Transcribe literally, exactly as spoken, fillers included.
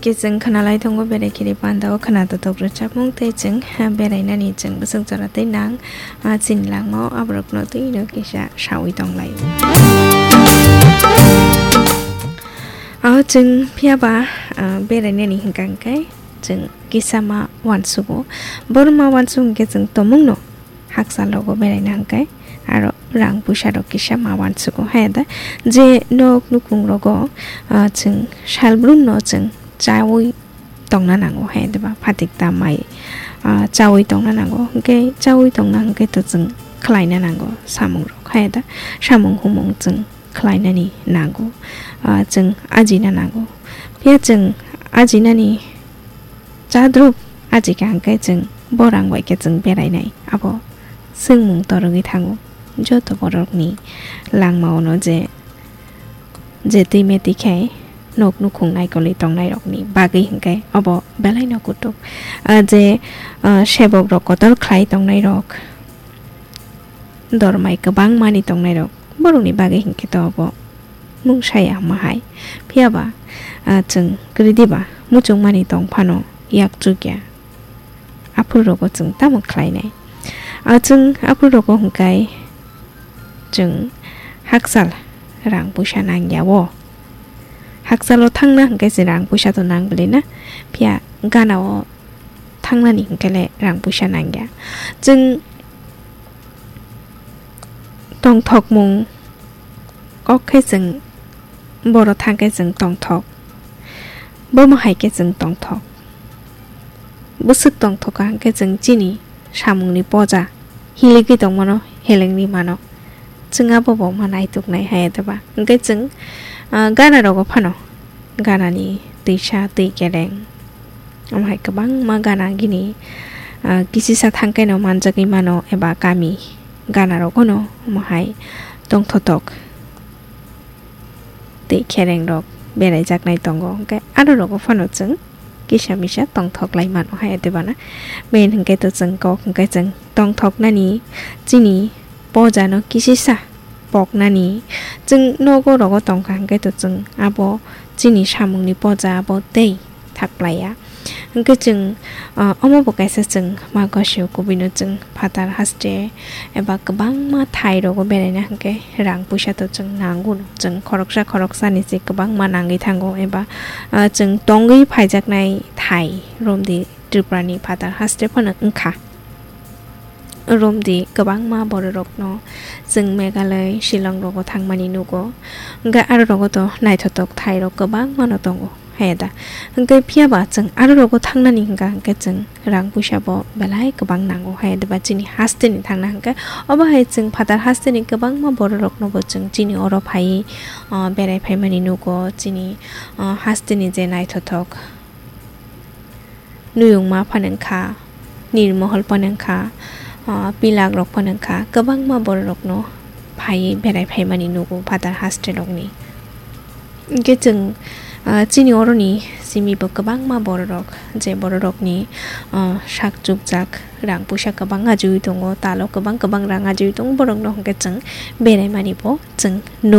Khe chwng khwnalai tongo berai khiri panda o khwna totok rwchapmung tei chwng, ha, berainani chwng bwswk jora tei nang, ah, chini langma o aborokno twi no kisa sawi tonglai. Aho chwng phiya ba, ah, berainani hwnkha hwnkhe chwng kisa ma uansugo. Borok ma uansuk hwnkhe chwng tongmung no hakchal rogo beraina hwnkhe aro rang puisa rok kisa ma uansugo. Haya da je nok nukhung rogo, ah, chwng salbrum no chwng chaui tongna nango, haya da ba phatik ta mai, ah, chaui tongna nango. Hwnkhe chaui tongna hwnkhe to chwng khlaina nango samung rok. Haya da samung humung chwng khlainani nango, ah, chwng ajina nango. Phiya chwng ajinani chadrup ajika hwnkhe chwng borang bai khe chwng berainai. Abo swngmung torogwi thango joto borokni langma-ono je, je twi me twi khe nok nukhung naikolwi tongnairokni bagwi hwnkhe obo belaino kutuk. Ah, je, ah, sebok rok kotor khlai tongnairok, dormai kwbangmani tongnairok, borokni bagwi hwnkhe to obo mungsaya wngma hai. Phiya ba, ah, chwng kwrwi diba muchungmani tong phano yak chukya. Aphuru rogo chwng tamo khlainai? Ah, chwng aphuru rogo hwnkhe chwng hakchal rang puisa nangya o. Hakchalo thangna hwnkhe chwng rang puisa to nang bwlwi na. Phiya gana o thangnani hwnkhe le rang puisa nangya. Chwng tongthokmung kok khe chwng boro thang khe chwng tongthok, bomo hai khe chwng tongthok. Bwswk tongthok kaham khe chwng chini samungni poja hiligwi tongmano helengwi mano. Chwng abo bo ma naituknai hai atoba. Hwnkhe chwng, ah, gana rogo phano ganani twisa twi kereng. Omo hai kwbangma gana gini, ah, kisisa thangkhe no manjagwi mano eba kami gana rogo no omo hai tongthotok tei khereng rok beraijaknai tongo. Hwnkhe aro rogo phano chwng kisa misa tongthok lai mano hai atoba na. Main hwnkhe to chwng kok hwnkhe chwng tongthoknani chini poja no kisisa poknani. Chwng nogo rogo tongkha hwnkhe to chwng abo chini samungni poja abo tei thaklaiya. Hwnkhe chwng, ah, omo bo kaisa chwng ma gosio kubui no chwng phatar haste eba kwbangma thai rogo beraina hwnkhe rang puisa to chwng nango no. Chwng khoroksa khoroksani se kwbangma nangwi thango eba, ah, chwng tongwi phaijaknai thai romdi Tripura ni phatar haste phano wngkha. Romdi kwbangma bororokno chwng Meghalaya, Shillong rogo thangmani nugo. Hwnkhe aro rogo to naithotok thairok kwbangmano tongo, haya da? Hwnkhe phiya ba chwng aro rogo thangnani hwnkha hwnkhe chwng rang puisa bo belai kwbang nango, haya da ba chini hasteni thangna hwnkhe. Obo hai chwng phatar hasteni kwbangma bororokno bo chwng chini oro phaiwi, ah, berai phaimani nugo, chini, ah, hasteni je naithothok. Nuyungma phano wngkha, Nirmohol phano wngkha, ah, Pilak rok phano wngkha, kwbangma bororokno phaiwi berai phaimani nugo phatar haste rokni. Hwnkhe chwng, ah, chini oroni simi bo kwbangma bororok, je bororokni, ah, sak chukjak rang puisa kwbang ajiwi tongo, talo kwbang kwbang rang ajiwi tongo, borokno hwnkhe chwng beraimani bo chwng nuk.